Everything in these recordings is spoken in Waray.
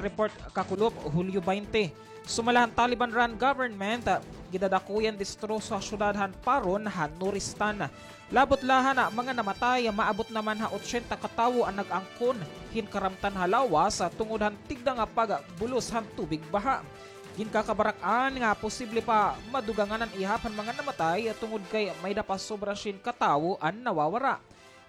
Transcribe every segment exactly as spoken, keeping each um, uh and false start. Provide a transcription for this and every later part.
Report kakulop, Hulyo baynte. Sumala han Taliban-run government, ah, gidadako ya an destroso ha syudad han Paron, han Nuristan. Labot la han, ah, mga namatay, maabot naman ha otsenta ka tawo an nag-angkon hin karamtan ha lawas, ah, tungod han tigda nga pagbulos han tubig baha. Ginkakabarak-an nga posible pa madugangan an ihap han mga namatay, ah, tungod kay may-ada pa sobra syen ka tawo an nawawara.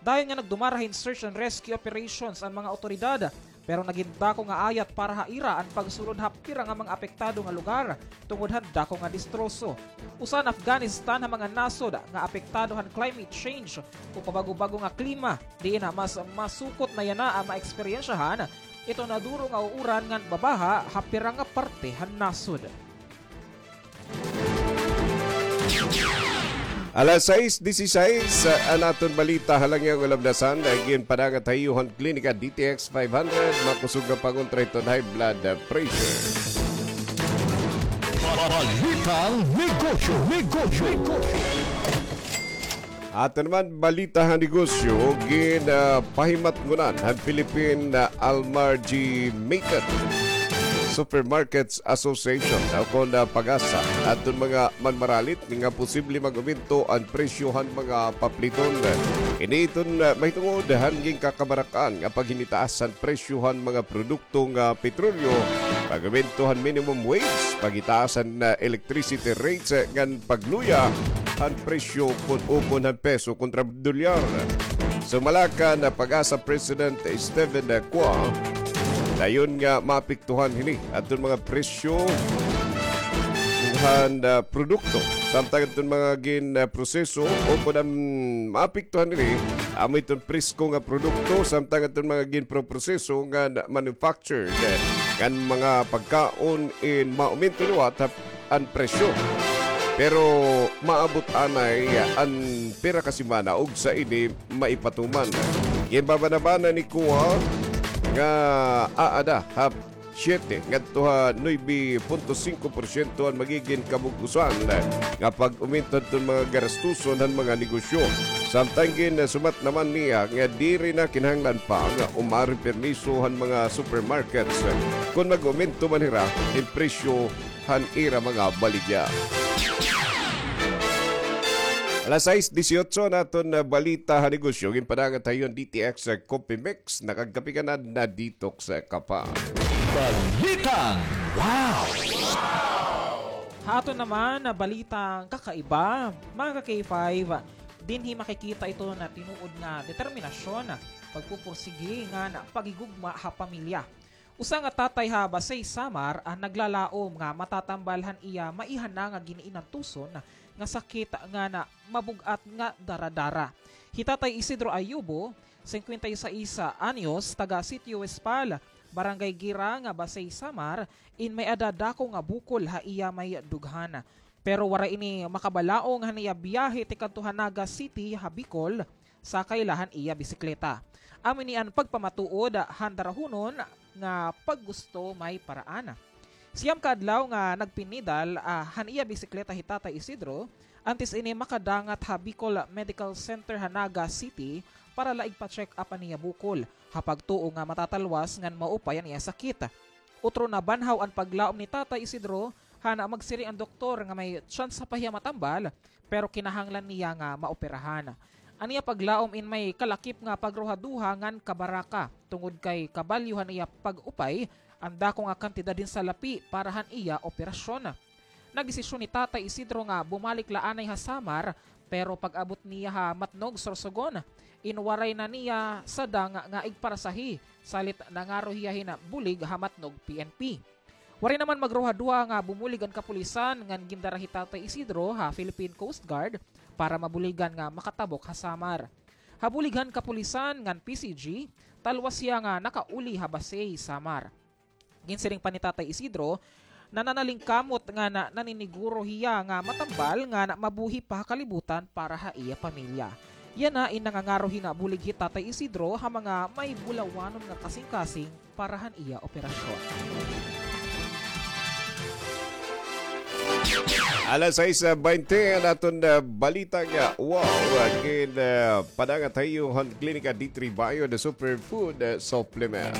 Dayon nga nagdumara hin search and rescue operations an mga awtoridad, pero nagin dako nga ayat para ha ira an pagsulod ha pira nga mga apektado nga lugar tungod han dako nga destroso. Usa an Afghanistan ha mga nasod nga apektado han climate change o pabago-bago nga klima, diin mas masukot na yana an maeksperyensyahan iton naduro nga uuran ngan babaha ha pira nga parte han nasod. Alas sais disisais, ah, an aton balita ha Langyaw nga Labdasan, ah, ginpadangat ha iyo han Klinika D T X five hundred, makusog nga pangontra hiton high blood, ah, pressure. Balitang negosyo, negosyo, negosyo. Aton naman balita ha negosyo, gin, ah, pahimatngonan han Philippine, ah, Almargimated Supermarkets Association, ah, kon, ah, PAGASA, adton mga manmaralit nga posible mag-umento an presyo han mga papliton. Ini iton, ah, mahitungod han ginkakabarak-an nga paghinitaas han presyo han mga produkto nga petrolyo, pag-umento han minimum wage, paghitaas han, ah, electricity rates, ah, ngan pagluya han presyo kon ukon han peso kontra dolyar. Sumala kan PAGASA President Steven Cua, dayon nga maapektuhan hini adton mga presyo han, ah, produkto. Samtang adton mga gin, ah, proseso o kon an maapektuhan hini, amo iton presko nga produkto, samtang adton mga ginproproseso nga manufactured, eh, ngan mga pagkaon in maumento liwat ha an presyo. Pero maabot anay an pira ka semana ug sa ini maipatuman. Ginbabanabana ni Cua nga aada ha siyete ngadto ha nuebe punto singko porsyento an magigin kabug-osan nga pag-umento hadton mga garastuson han mga negosyo. Samtang ginsumat naman niya nga diri na kinahanglan pa nga umari permiso han mga supermarkets kon mag-umento man hira hin presyo han ira mga baligya. Alas sais disiotso an aton, ah, balita ha negosyo. Ginpadangat ha iyo han D T X, ah, Coffee Mix. Nakagkape ka na, na-detox ka pa. Balitang Wow! Ha aton naman, ah, balitang kakaiba, mga ka-K five, dinhi makikita iton tinuod nga determinasyon, pagpupursige ngan paghigugma ha pamilya. Usa nga tatay ha Basey, Samar, an naglalaom nga matatambal han iya maiha na nga gin-iinantuson nga sakit ngan mabug-at nga dara-dara. Hi Tatay Isidro Ayubo, singkwenta y seis anyos, taga Sitio Westpal, Barangay Girang, Basey, Samar, in may-ada dako nga bukol ha iya may dughan. Pero waray ini makabalaong han iya biyahe tikadto ha Naga City ha Bicol, sakay la han iya bisikleta. Amo ini an pagpamatuod han darahunon nga paggusto may paraan. Siyam ka adlaw nga nagpinidal, ah, han iya bisikleta hi Tatay Isidro, antes ini makadangat ha Bicol Medical Center ha Naga City para la igpa-check up an iya bukol, ha pagtuo nga matatalwas ngan maupay an iya sakit. Utro nabanhaw an paglaom ni Tatay Isidro, han magsiring an doktor nga may tsansa pa hiya matambal, pero kinahanglan niya nga maoperahan. An iya paglaom in may kalakip nga pagruhaduha ngan kabaraka, tungod kay kabalyo han iya pag-upay an dako nga kantidad hin salapi para han iya operasyon. Nagdesisyon ni Tatay Isidro nga bumalik la anay ha Samar, pero pag-abot niya ha Matnog, Sorsogon, in waray na niya sadang nga igparasahe, salit nangaro hiya hin bulig ha Matnog P N P. Waray naman magruhaduha nga bumulig an kapulisan ngan gindara hi Tatay Isidro ha Philippine Coast Guard para mabuligan nga makatabok ha Samar. Ha bulig han kapulisan ngan P C G, talwas hiya nga nakauli ha Basey, Samar. Ginsiring pa ni Tatay Isidro, nananalingkamot ngan naniniguro hiya nga matambal ngan mabuhi pa ha kalibutan para ha iya pamilya. Yana in nangangaro hin bulig hi Tatay Isidro ha mga may bulawanon nga kasingkasing para han iya operasyon. Alas sais baynte an aton, ah, balita nga wow, ah, gin, ah, padangat ha iyo han Klinika D three Bio, the superfood, ah, supplement.